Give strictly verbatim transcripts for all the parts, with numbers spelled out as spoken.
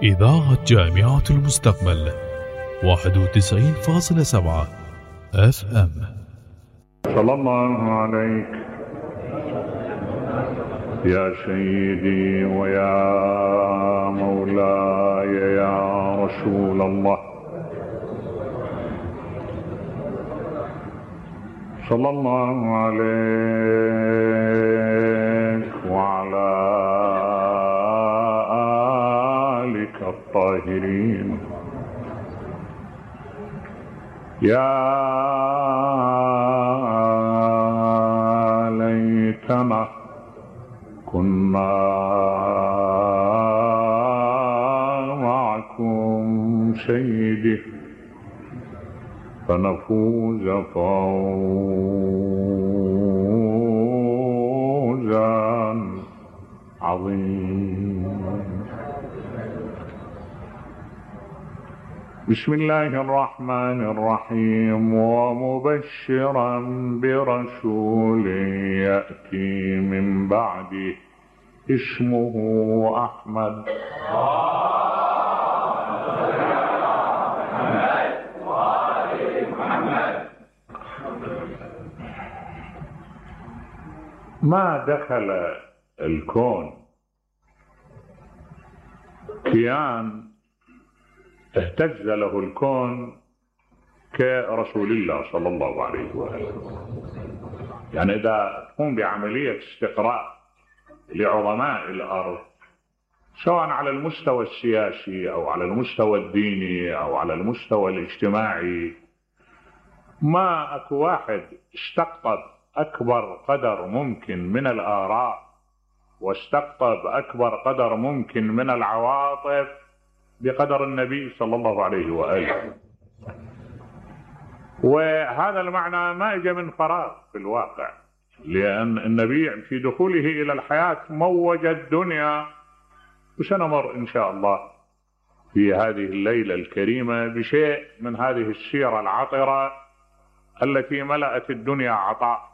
إذاعة جامعة المستقبل واحد وتسعين فاصلة سبعة اف ام. صلى الله عليك يا سيدي ويا مولاي يا رسول الله، صلى الله عليك وعلى آلك الطاهرين. يا ليتنا كنا معكم سيدي فنفوز فوزا عظيما. بسم الله الرحمن الرحيم. ومبشرا برسول يأتي من بعده اسمه أحمد. ما دخل الكون كيان اهتز له الكون كرسول الله صلى الله عليه وآله. يعني إذا تقوم بعملية استقراء لعظماء الأرض سواء على المستوى السياسي أو على المستوى الديني أو على المستوى الاجتماعي، ما أكو واحد استقطب أكبر قدر ممكن من الآراء واستقطب أكبر قدر ممكن من العواطف بقدر النبي صلى الله عليه وآله. وهذا المعنى ما اجى من فراغ في الواقع، لأن النبي في دخوله إلى الحياة موج الدنيا، وسنمر إن شاء الله في هذه الليلة الكريمة بشيء من هذه السيرة العطرة التي ملأت الدنيا عطاء.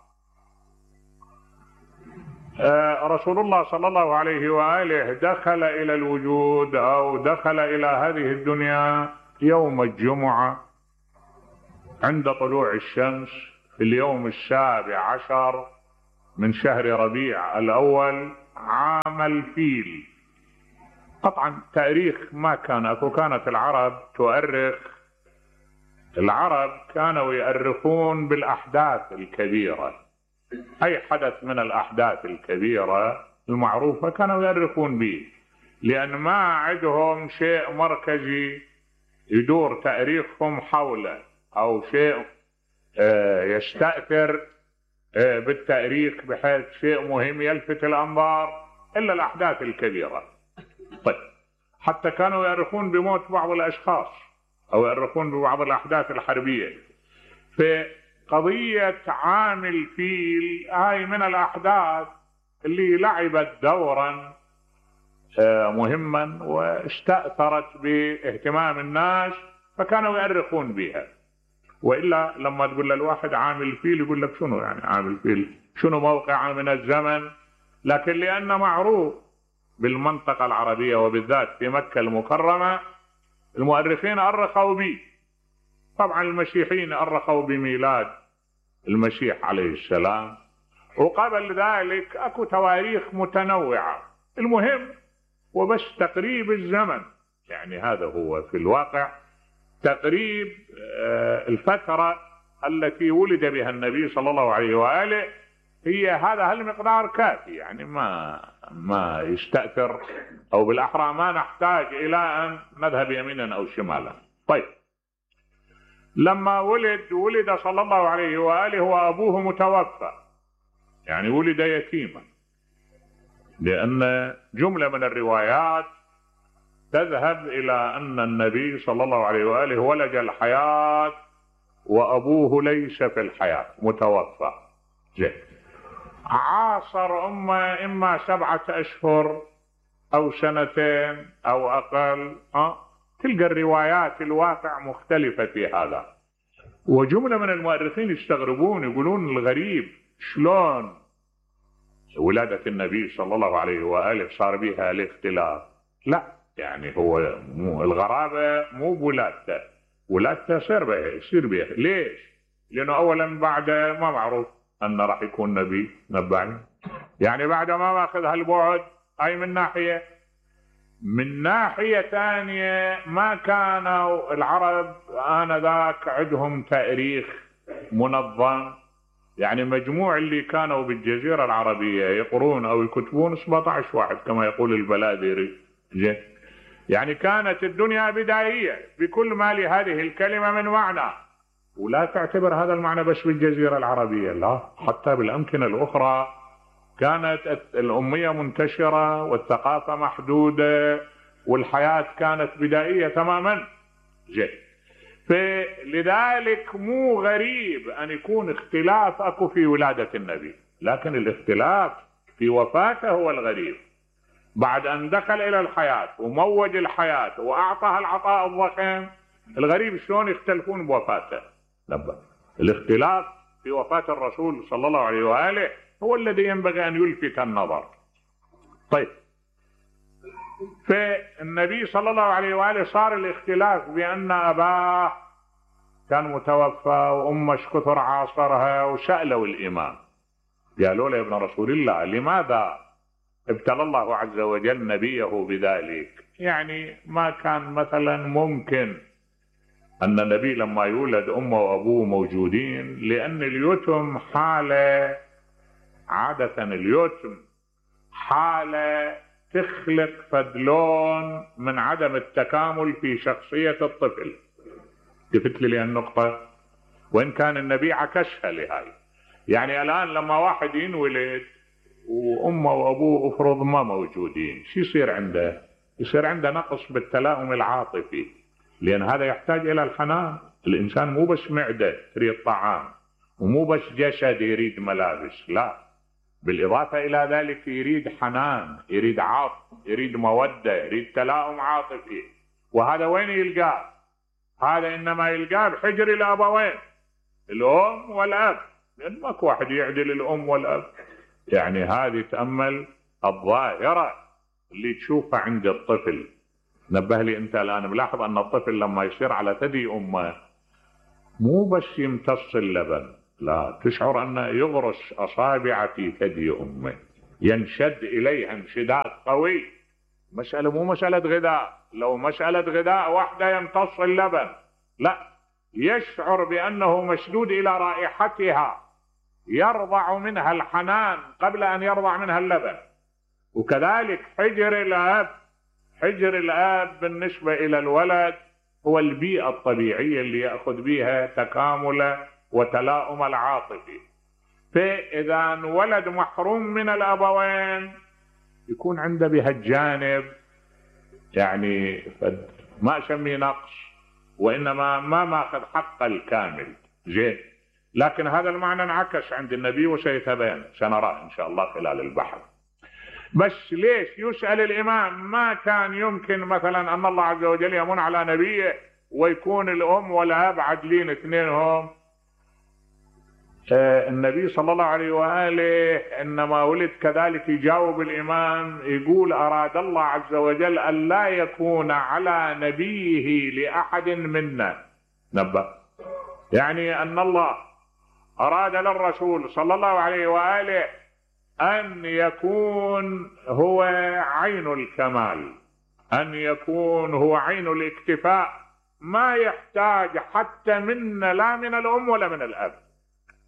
رسول الله صلى الله عليه وآله دخل إلى الوجود أو دخل إلى هذه الدنيا يوم الجمعة عند طلوع الشمس في اليوم السابع عشر من شهر ربيع الأول عام الفيل. طبعا تاريخ ما كان أكو، كانت العرب تؤرخ، العرب كانوا يؤرخون بالأحداث الكبيرة، أي حدث من الأحداث الكبيرة المعروفة كانوا يؤرخون به، لأن ما عندهم شيء مركزي يدور تاريخهم حوله أو شيء يستأثر بالتاريخ بحيث شيء مهم يلفت الأنظار إلا الأحداث الكبيرة. طيب، حتى كانوا يؤرخون بموت بعض الأشخاص أو يؤرخون ببعض الأحداث الحربية. في قضية عام الفيل هاي من الأحداث اللي لعبت دورا مهما واستأثرت باهتمام الناس فكانوا يؤرخون بها. وإلا لما تقول للواحد عام الفيل يقول لك شنو يعني عام الفيل، شنو موقعه من الزمن؟ لكن لأنه معروف بالمنطقة العربية وبالذات في مكة المكرمة المؤرخين أرخوا به. طبعا المسيحيين أرخوا بميلاد المسيح عليه السلام، وقبل ذلك أكو تواريخ متنوعة. المهم وبس تقريب الزمن، يعني هذا هو في الواقع تقريب الفترة التي ولد بها النبي صلى الله عليه وآله، هي هذا هالمقدار كافي، يعني ما ما يستأثر، أو بالأحرى ما نحتاج إلى أن نذهب يمينا أو شمالا. طيب، لما ولد ولد صلى الله عليه وآله وأبوه متوفى، يعني ولد يتيما، لأن جملة من الروايات تذهب إلى أن النبي صلى الله عليه وآله ولج الحياة وأبوه ليس في الحياة متوفى. زين، عاصر أمه إما سبعة أشهر أو سنتين أو أقل. أه؟ تلقى الروايات الواقع مختلفة في هذا. وجملة من المؤرخين يستغربون يقولون الغريب شلون ولادة النبي صلى الله عليه وآله صار بها الاختلاف. لا، يعني هو مو الغرابة مو بولادته، ولادته يصير بها يصير بها. ليش؟ لأنه أولا بعد ما معروف أنه راح يكون نبي نبعني، يعني بعد ما ماخذ هالبعد. هاي من ناحية. من ناحية ثانية ما كانوا العرب آنذاك عندهم تاريخ منظم، يعني مجموع اللي كانوا بالجزيرة العربية يقرون أو يكتبون سبعة عشر واحد كما يقول البلادري. يعني كانت الدنيا بدائية بكل ما لهذه الكلمة من معنى، ولا تعتبر هذا المعنى بس بالجزيرة العربية، لا، حتى بالأمكنة الأخرى كانت الأمية منتشرة والثقافة محدودة والحياة كانت بدائية تماما. جي. فلذلك مو غريب أن يكون اختلاف أكو في ولادة النبي، لكن الاختلاف في وفاته هو الغريب. بعد أن دخل إلى الحياة وموج الحياة وأعطاها العطاء الضخم، الغريب شلون يختلفون بوفاته. لبا. الاختلاف في وفاة الرسول صلى الله عليه وآله هو الذي ينبغي أن يلفت النظر. طيب، فالنبي صلى الله عليه وآله صار الاختلاف بأن أباه كان متوفى وأمه كثر عاصرها، وسألوا الإمام قالوا له يا ابن رسول الله لماذا ابتلى الله عز وجل نبيه بذلك؟ يعني ما كان مثلا ممكن أن النبي لما يولد أمه وأبوه موجودين، لأن اليتم حالة، عادة اليتم حالة تخلق فدلون من عدم التكامل في شخصية الطفل. قلت لي النقطة، وإن كان النبي عكسها لهاي. يعني الآن لما واحد ينولد وأمه وأبوه أفرض ما موجودين، شو يصير عنده؟ يصير عنده نقص بالتلاؤم العاطفي، لأن هذا يحتاج إلى الحنان. الإنسان مو بس معدة تريد طعام، ومو بس جسد يريد ملابس، لا، بالإضافة إلى ذلك يريد حنان، يريد عطف، يريد مودة، يريد تلاؤم عاطفي. وهذا وين يلقاه؟ هذا إنما يلقاه بحجر الأبوين، الأم والأب، لأن ماكو واحد يعدل الأم والأب. يعني هذه تأمل الظاهرة اللي تشوفها عند الطفل. نبه لي أنت الآن ملاحظ أن الطفل لما يصير على ثدي أمه مو بس يمتص اللبن، لا، تشعر أنه يغرس أصابع في ثدي أمه، ينشد إليها انشداد قوي. مسألة مو مسألة غذاء، لو مسألة غذاء واحدة يمتص اللبن، لا، يشعر بأنه مشدود إلى رائحتها، يرضع منها الحنان قبل أن يرضع منها اللبن. وكذلك حجر الأب، حجر الأب بالنسبة إلى الولد هو البيئة الطبيعية اللي يأخذ بها تكامل وتلاؤم العاطفي. فإذا ولد محروم من الأبوين يكون عنده بهالجانب يعني ما أسميه نقص، وإنما ما ماخذ حقه الكامل. زين، لكن هذا المعنى انعكس عند النبي وسيتبين، سنراه إن شاء الله خلال البحث. بس ليش يسأل الإمام؟ ما كان يمكن مثلا أن الله عز وجل يمن على نبيه ويكون الأم والأب عدلين اثنينهم. آه النبي صلى الله عليه وآله إنما ولد كذلك يجاوب الإمام، يقول أراد الله عز وجل أن لا يكون على نبيه لأحد منا نبأ، يعني أن الله أراد للرسول صلى الله عليه وآله أن يكون هو عين الكمال، أن يكون هو عين الاكتفاء، ما يحتاج حتى منا، لا من الأم ولا من الأب.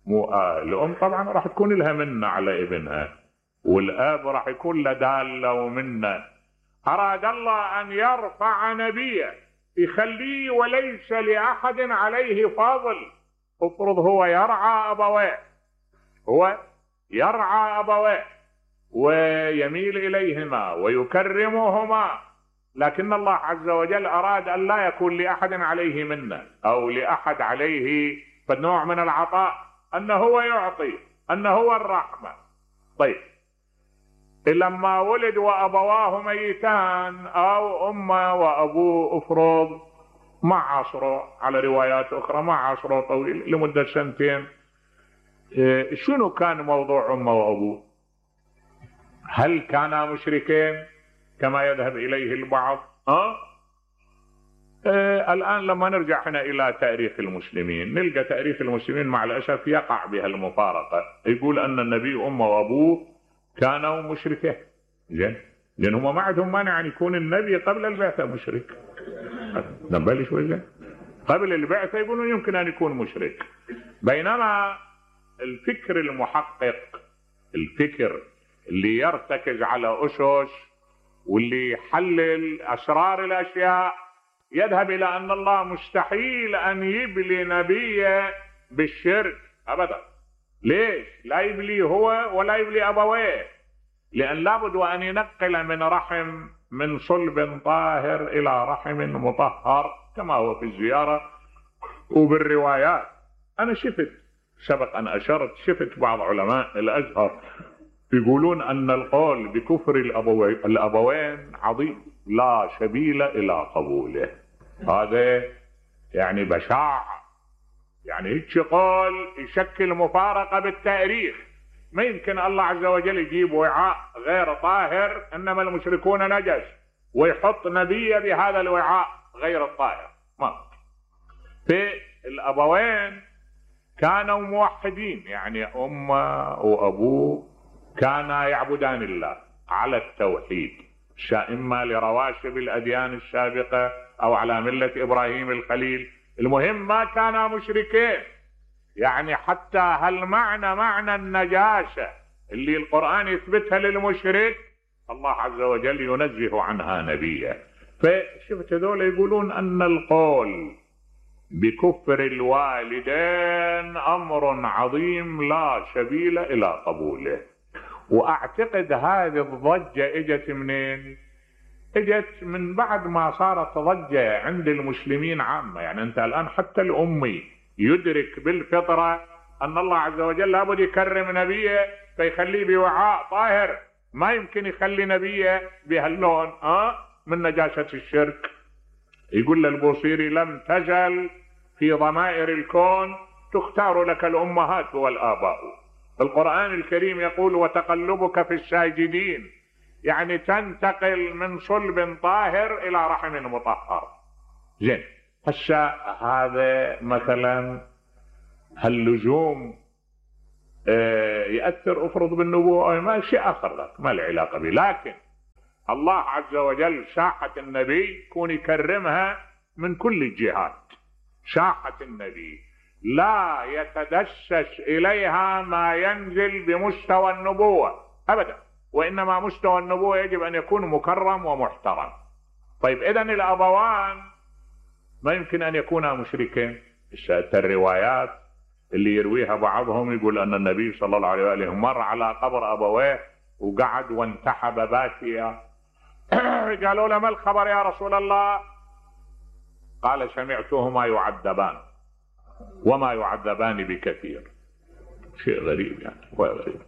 مو آه الأم طبعا راح تكون لها منة على ابنها، والأب راح يكون له دالة ومنة. أراد الله أن يرفع نبيه، يخليه وليس لأحد عليه فاضل. افرض هو يرعى أبويه، هو يرعى أبويه ويميل إليهما ويكرمهما، لكن الله عز وجل أراد أن لا يكون لأحد عليه منة أو لأحد عليه فنوع من العطاء، أنه هو يعطي، أنه هو الرحمة. طيب، لما ولد وأبواه ميتان أو أمه وأبوه افرض ما عاصروا، على روايات أخرى ما عاصروا طويل لمدة سنتين، شنو كان موضوع أمه وأبوه؟ هل كانا مشركين كما يذهب إليه البعض ها؟ آه الآن لما نرجع هنا إلى تاريخ المسلمين نلقى تاريخ المسلمين مع الأسف يقع بها المفارقة. يقول أن النبي أمه وأبوه كانوا مشركين، زين، لأن هم ما عندهم مانع أن يكون النبي قبل البعثة مشرك. نبالي شوي زين، قبل البعثة يقولون يمكن أن يكون مشرك، بينما الفكر المحقق، الفكر اللي يرتكز على أسس واللي يحلل أسرار الأشياء يذهب إلى أن الله مستحيل أن يبلي نبيه بالشرك أبدا. ليش؟ لا يبلي هو ولا يبلي أبويه، لأن لابد وأن ينقل من رحم من صلب طاهر إلى رحم مطهر كما هو في الزيارة وبالروايات. أنا شفت سبق أن أشرت شفت بعض علماء الأزهر يقولون أن القول بكفر الأبوين عظيم لا سبيل إلى قبوله. هذا يعني بشاعة، يعني هيك قول يشكل مفارقة بالتاريخ. ما يمكن الله عز وجل يجيب وعاء غير طاهر إنما المشركون نجس ويحط نبيه بهذا الوعاء غير الطاهر، ما. في الأبوين كانوا موحدين، يعني أمه وأبوه كانا يعبدان الله على التوحيد، إما لرواشب الأديان السابقة أو على ملة إبراهيم الخليل، المهم ما كانا مشركين. يعني حتى هالمعنى معنى النجاسة اللي القرآن يثبتها للمشرك الله عز وجل ينزه عنها نبيه. فشفت هذول يقولون أن القول بكفر الوالدين أمر عظيم لا سبيل إلى قبوله. وأعتقد هذه الضجة اجت منين؟ اجت من بعد ما صارت ضجة عند المسلمين عامة. يعني أنت الآن حتى الأمي يدرك بالفطرة أن الله عز وجل لابد يكرم نبيه فيخليه بوعاء طاهر، ما يمكن يخلي نبيه بهاللون أه؟ من نجاسة الشرك. يقول للبوصيري لم تزل في ضمائر الكون تختار لك الأمهات والآباء. القرآن الكريم يقول وتقلبك في الساجدين، يعني تنتقل من صلب طاهر إلى رحم مطهر. زين، هسه هذا مثلا هاللزوم اه يأثر افرض بالنبوة أو ما شيء آخر لك ما له علاقة به، لكن الله عز وجل ساحة النبي يكون يكرمها من كل الجهات. ساحة النبي لا يتدسس إليها ما ينزل بمستوى النبوة أبدا، وإنما مستوى النبوة يجب أن يكون مكرم ومحترم. طيب إذن الأبوان ما يمكن أن يكونا مشركين. الروايات اللي يرويها بعضهم يقول أن النبي صلى الله عليه وآله مر على قبر أبويه وقعد وانتحب باكيا. قالوا له ما الخبر يا رسول الله؟ قال سمعتهما يعذبان وما يعذبان بكثير. شيء غريب يعني، غريب.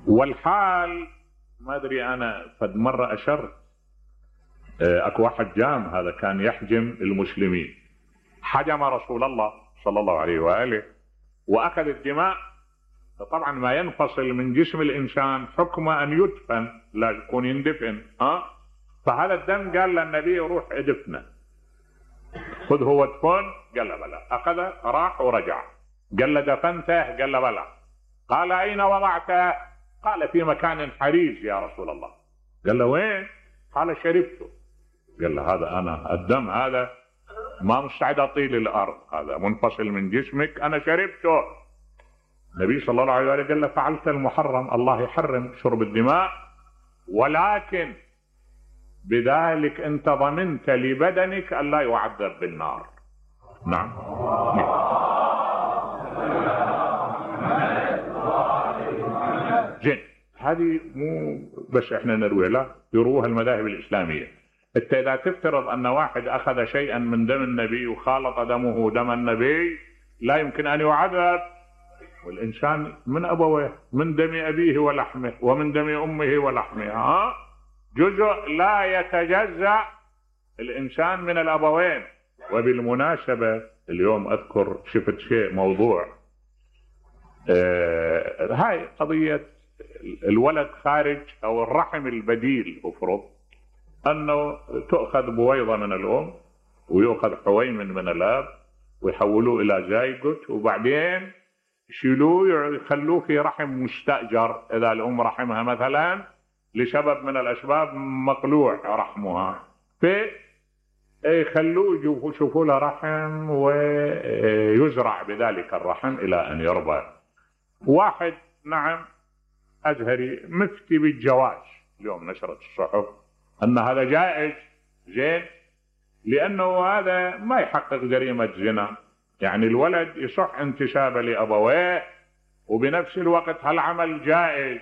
والحال ما أدري أنا فد مرة أشرت أكو واحد جام هذا كان يحجم المسلمين، حجم رسول الله صلى الله عليه وآله وأخذ الدماء. طبعا ما ينفصل من جسم الإنسان حكم أن يدفن، لا يكون يندفن أه؟ فهذا الدم قال للنبي روح ادفنه، خذ هو دفن، قال له بلى. أخذ راح ورجع، قال له دفنته؟ قال له بلى. قال أين وضعته؟ قال في مكان حريز يا رسول الله. قال له وين؟ قال شربته. قال له هذا أنا الدم هذا ما مستعد أطيل الأرض، هذا منفصل من جسمك، أنا شربته. النبي صلى الله عليه وسلم قال له فعلت المحرم، الله يحرم شرب الدماء، ولكن بذلك أنت ضمنت لبدنك أن لا يعذب بالنار. نعم. زين، هذه مو بس احنا نرويها، لا يروها المذاهب الإسلامية. انت اذا تفترض ان واحد اخذ شيئا من دم النبي وخالط دمه دم النبي لا يمكن ان يعذب. والانسان من ابويه، من دم ابيه ولحمه ومن دم امه ولحمها ها جزء لا يتجزأ الانسان من الابوين. وبالمناسبة اليوم اذكر شفت شيء موضوع آه هاي قضية الولد خارج او الرحم البديل. افرض أنه تؤخذ بويضة من الأم ويؤخذ حويمن من الأب ويحولوه إلى زيجوت، وبعدين يشيلوه يخلوه في رحم مستأجر. إذا الأم رحمها مثلا لسبب من الأسباب مقلوع رحمها، فيخلوه يشوفوا له رحم ويزرع بذلك الرحم إلى أن يربى. واحد نعم أزهري مفتي بالجواز، اليوم نشرت الصحف أن هذا جائز، زين، لأنه هذا ما يحقق جريمة زنا، يعني الولد يصح انتسابه لأبويه وبنفس الوقت هالعمل جائز.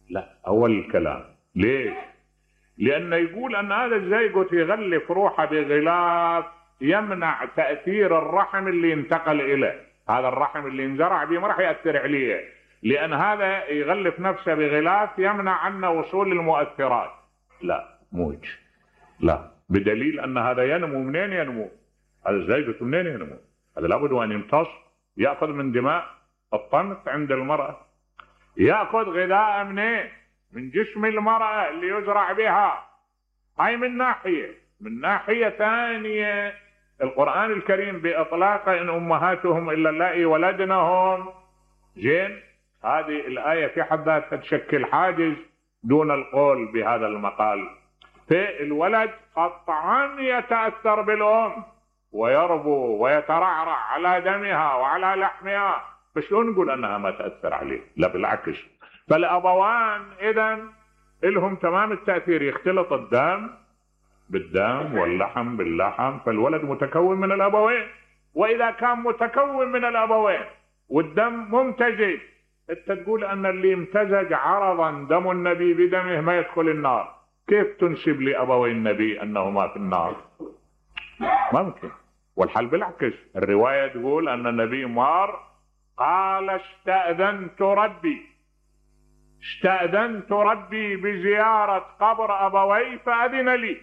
لا، أول الكلام ليش؟ لأنه يقول أن هذا الزيجوت يغلف روحه بغلاف يمنع تأثير الرحم اللي انتقل إليه، هذا الرحم اللي انزرع به ما راح يأثر عليه، لأن هذا يغلف نفسه بغلاف يمنع عنه وصول المؤثرات. لا موج، لا، بدليل أن هذا ينمو. منين ينمو؟ هذا الزيجوت منين ينمو؟ هذا لابد أن يمتص، يأخذ من دماء الطمث عند المرأة، يأخذ غذاء منين؟ من جسم المرأة اللي يزرع بها. هاي من ناحية. من ناحية ثانية القرآن الكريم بإطلاقه إن أمهاتهم إلا اللائي ولدنهم، زين، هذه الآية في حد ذاتها تشكل حاجز دون القول بهذا المقال. فالولد قطعا يتأثر بالأم ويربو ويترعرع على دمها وعلى لحمها، فشلون نقول أنها ما تأثر عليه؟ لا بالعكس. فالأبوان إذن لهم تمام التأثير، يختلط الدم بالدم واللحم باللحم، فالولد متكون من الأبوين. وإذا كان متكون من الأبوين والدم ممتزج، انت تقول أن اللي امتزج عرضا دم النبي بدمه ما يدخل النار، كيف تنسب لأبوي النبي أنهما في النار؟ ممكن. والحل بالعكس، الرواية تقول أن النبي مار قال استأذنت ربي استأذنت ربي بزيارة قبر أبوي فأذن لي،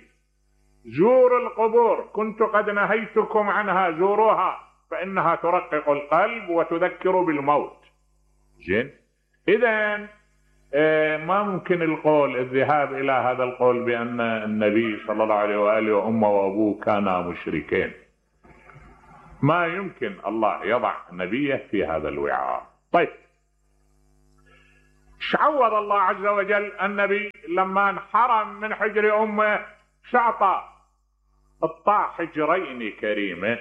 زوروا القبور، كنت قد نهيتكم عنها، زوروها فإنها ترقق القلب وتذكر بالموت. زين، إذن ما ممكن القول الذهاب إلى هذا القول بأن النبي صلى الله عليه وآله وأمه وأبوه كانا مشركين. ما يمكن الله يضع نبيه في هذا الوعاء. طيب، شعوض الله عز وجل النبي لما انحرم من حجر أمه شعطى اطاع حجرين كريمين.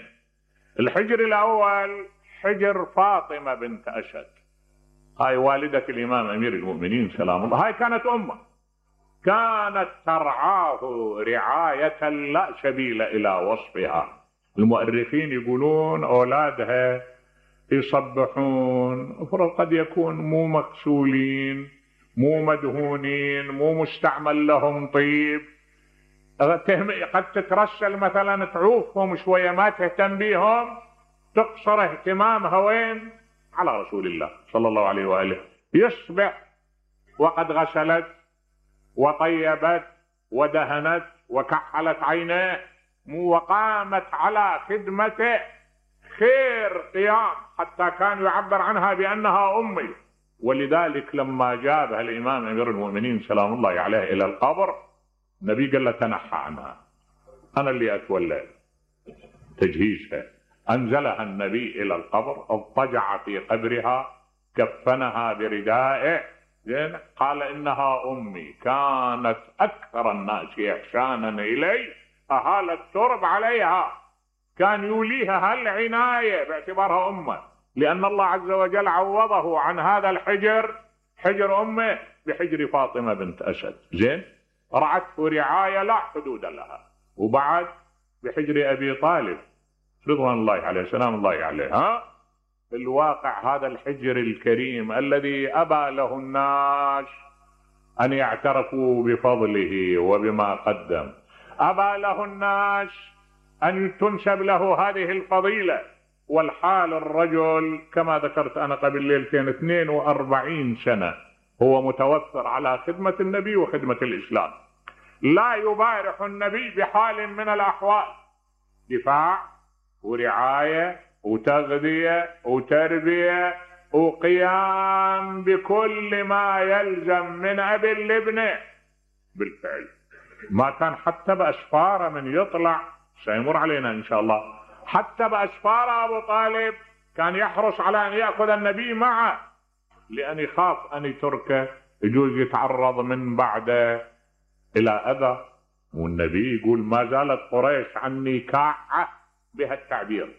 الحجر الأول حجر فاطمة بنت أسد، هاي والدة الإمام أمير المؤمنين سلام الله، هاي كانت أمه، كانت ترعاه رعاية لا سبيل إلى وصفها. المؤرخين يقولون أولادها يصبحون افرض قد يكون مو مغسولين، مو مدهونين، مو مستعمل لهم طيب، قد تترسل مثلا تعوفهم شوية ما تهتم بيهم، تقصر اهتمامها وين؟ على رسول الله صلى الله عليه وآله. يصبح وقد غسلت وطيبت ودهنت وكحلت عينيه وقامت على خدمته خير قيام، حتى كان يعبر عنها بأنها أمي. ولذلك لما جابها الإمام أمير المؤمنين سلام الله عليه إلى القبر، النبي قال له تنحى عنها، أنا اللي أتولى تجهيزها. أنزلها النبي إلى القبر، اضطجع في قبرها، كفنها بردائه، قال إنها أمي، كانت أكثر الناس إحسانا إلي، أهال الترب عليها، كان يوليها هالعناية باعتبارها أمه، لأن الله عز وجل عوضه عن هذا الحجر، حجر أمه، بحجر فاطمة بنت أسد. زين، رعته رعاية لا حدود لها. وبعد بحجر أبي طالب رضوان الله عليه سلام الله عليه. ها في الواقع هذا الحجر الكريم الذي أبى له الناس أن يعترفوا بفضله وبما قدم، أبى له الناس أن تنسب له هذه الفضيلة، والحال الرجل كما ذكرت أنا قبل ليلتين اثنين وأربعين سنة هو متوفر على خدمة النبي وخدمة الإسلام، لا يبارح النبي بحال من الأحوال، دفاع ورعاية وتغذية وتربية وقيام بكل ما يلزم من أب لابنه. بالفعل ما كان حتى بأسفاره من يطلع، سيمر علينا إن شاء الله، حتى بأسفاره أبو طالب كان يحرص على أن يأخذ النبي معه، لأن يخاف أن يتركه يجوز يتعرض من بعده إلى أذى. والنبي يقول ما زالت قريش عني كاعة، بها التعبير،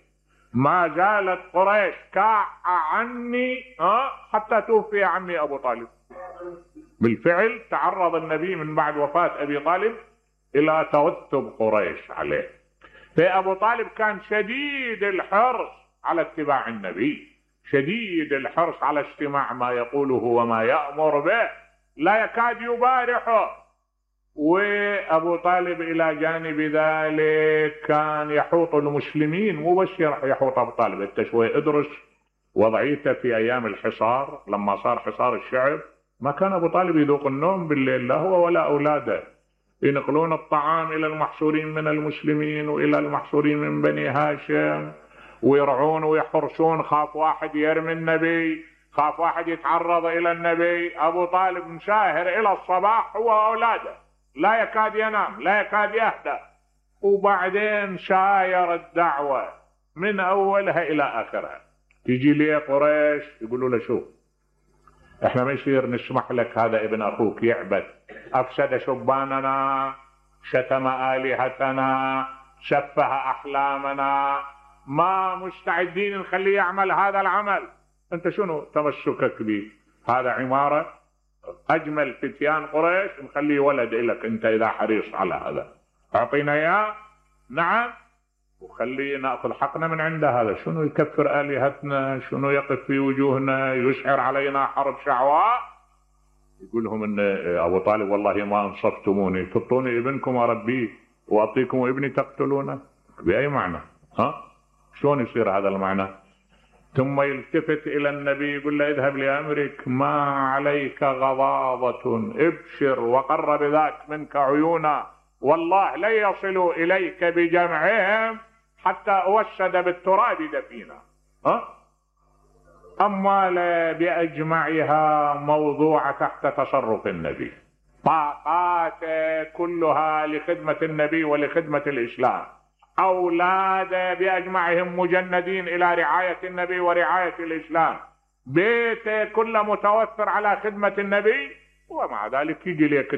ما زالت قريش كاعة عني أه حتى توفي عمي أبو طالب. بالفعل تعرض النبي من بعد وفاة أبي طالب إلى توتب قريش عليه. فأبو طالب كان شديد الحرص على اتباع النبي، شديد الحرص على استماع ما يقوله وما يأمر به، لا يكاد يبارحه. وأبو طالب إلى جانب ذلك كان يحوط المسلمين، مو بس يحوط أبو طالب، أنت شوي ادرس وضعيته في أيام الحصار. لما صار حصار الشعب ما كان أبو طالب يذوق النوم بالليل، لا هو ولا أولاده، ينقلون الطعام إلى المحصورين من المسلمين وإلى المحصورين من بني هاشم، ويرعون ويحرسون، خاف واحد يرمي النبي، خاف واحد يتعرض إلى النبي. أبو طالب مشاهر إلى الصباح هو وأولاده، لا يكاد ينام، لا يكاد يهدأ. وبعدين شاير الدعوة من أولها إلى آخرها. تيجي لي قريش يقولوا له شوف، احنا ما يصير نسمح لك هذا ابن أخوك يعبد، أفسد شباننا، شتم آلهتنا، سفه أحلامنا، ما مستعدين نخليه يعمل هذا العمل. أنت شنو تمسكك به؟ هذا عمارة أجمل فتيان قريش، نخليه ولد إلك أنت إذا حريص على هذا، أعطينا إياه. نعم، وخليه نأخذ حقنا من عنده. هذا شنو يكفر آلهتنا، شنو يقف في وجوهنا، يشعر علينا حرب شعواء. يقول لهم إن أبو طالب والله ما أنصفتموني، تطوني ابنكم أربيه وأعطيكم ابني تقتلونه، بأي معنى؟ ها؟ شلون يصير هذا المعنى؟ ثم يلتفت إلى النبي يقول له اذهب لأمرك، ما عليك غضاضة، ابشر وقر بذاك منك عيونا، والله لن يصلوا إليك بجمعهم حتى أوسد بالتراب دفينا. ها؟ أما بأجمعها موضوع تحت تصرف النبي، طاقات كلها لخدمة النبي ولخدمة الإسلام، أولاد بأجمعهم مجندين إلى رعاية النبي ورعاية الإسلام، بيت كله متوفر على خدمة النبي، ومع ذلك يجي لك